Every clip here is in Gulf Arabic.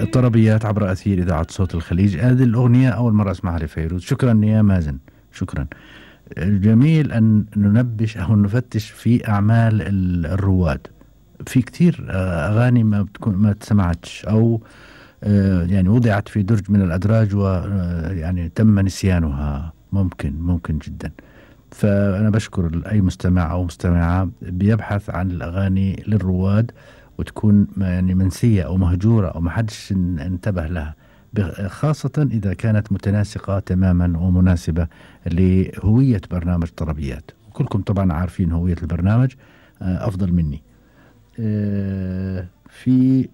طربيات عبر أثير إذاعة صوت الخليج. هذه الأغنية أول مرة أسمعها لفيروز. شكرا يا مازن، شكرا. جميل أن ننبش أو نفتش في أعمال الرواد. في كتير أغاني ما تسمعتش أو يعني وضعت في درج من الأدراج ويعني تم نسيانها. ممكن جدا. فأنا بشكر أي مستمع أو مستمعة بيبحث عن الأغاني للرواد وتكون يعني منسية أو مهجورة أو ما حدش انتبه لها، خاصة إذا كانت متناسقة تماما ومناسبة لهوية برنامج طربيات. كلكم طبعا عارفين هوية البرنامج أفضل مني. في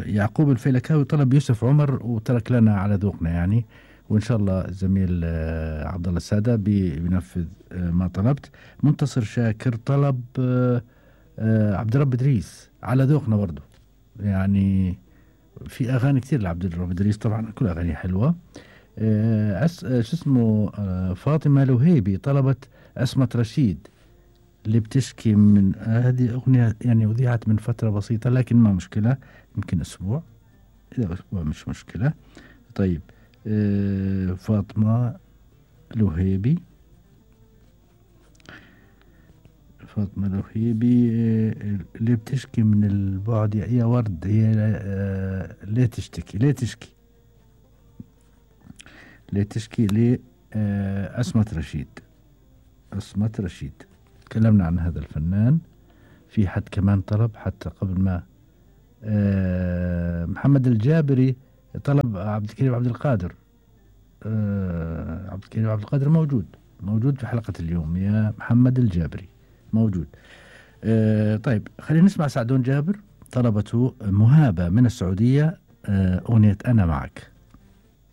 يعقوب الفيلكاوي طلب يوسف عمر وترك لنا على ذوقنا يعني، وإن شاء الله الزميل عبد الله السادة بينفذ ما طلبت. منتصر شاكر طلب عبد الرب إدريس على ذوقنا برضو، يعني في أغاني كتير لعبد الرب إدريس طبعا كل أغاني حلوة. شو اسمه فاطمة الوهيبي طلبت عصمة رشيد اللي بتشكي من هذه أغنية يعني أذيعت من فترة بسيطة لكن ما مشكلة، يمكن أسبوع، إذا أسبوع مش مشكلة. طيب فاطمة الوهيبي اللي بتشكي من البعد يا ورد، هي ليه تشكي عصمة رشيد. تكلمنا عن هذا الفنان. في حد كمان طلب حتى قبل ما محمد الجابري طلب عبد الكريم عبد القادر. عبد الكريم عبد القادر موجود في حلقة اليوم يا محمد الجابري موجود. طيب خلينا نسمع سعدون جابر طلبته مهابة من السعودية أغنية أنا معك.